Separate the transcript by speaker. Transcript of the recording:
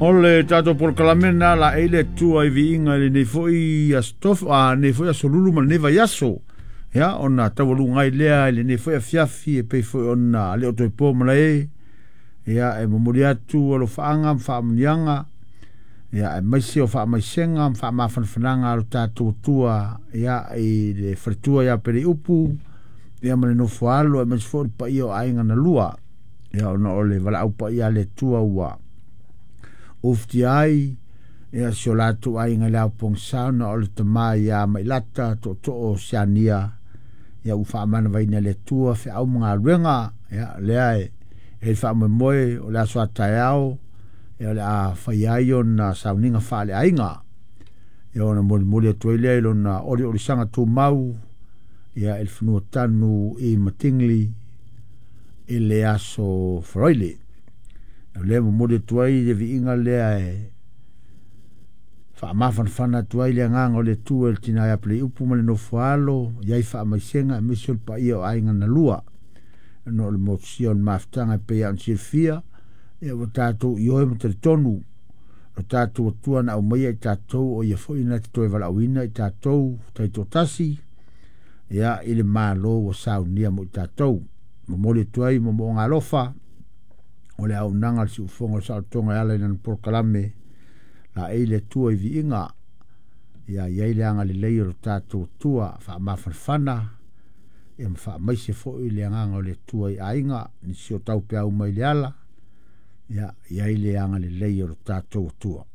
Speaker 1: O le tatou polokalame lena laei le Atua i viiga i lenei foi aso tofi, a lenei foi aso lulu ma lenei vaiaso. Ia, ona taualuga ai lea i lenei foi afiafi e pei foi ona le o toe po malae. Ia, e momoli atu alofaaga ma faamuniaga, ia, aemaise o faamaisega ma faamafanafanaga a lo tatou Atua, ia, i le faletua ia Peleiupu, ia ma le nofo alo, aemaise foi o le paia o aiga na lua. Ia, ona o le valaau paia a le Atua ua ufutia ai, ia, si o latou aiga i le aopogisa, ona o le tama ia Mailata Tootoo Siania, ia, ua faamanavaina e le Atua feau ma galuega. Ia, lea e faamoemoe o le aso a taeao, ia, o le a fai ai ona sauniga faaleaiga. Ia, ona molimoli atu ai lea i lona oliolisaga tumau, ia, i le fanua tanu i Matingli i le aso Faraile. O lea momoli atu ai le viiga lea e faamafanafana atu ai le agaga o le Atua i le tina ia Peleiupu ma le nofo alo, iai faamaisega aemaise o le paia o aiga na lua. Ona o le motusia o le mafutaga e pei ona silafia, ia, ua tatou ioe ma talitonu o tatou Atua na aumaia i tatou, o ia foi na te toe valaauina i tatou taitoatasi, ia, i le Malo ua saunia mo i tatou. Momoli atu ai moomooga alofa o le auaunaga a le siufofoga o le saolotoga e ala i lana polokalame laei le Atua i viiga. Ia iai le agalelei o le tatou Atua faamafanafana, ia, ma faamaise foi le agaga o le Atua i aiga nisi o taupeau mai le ala. Ia iai le agalelei o le tatou Atua.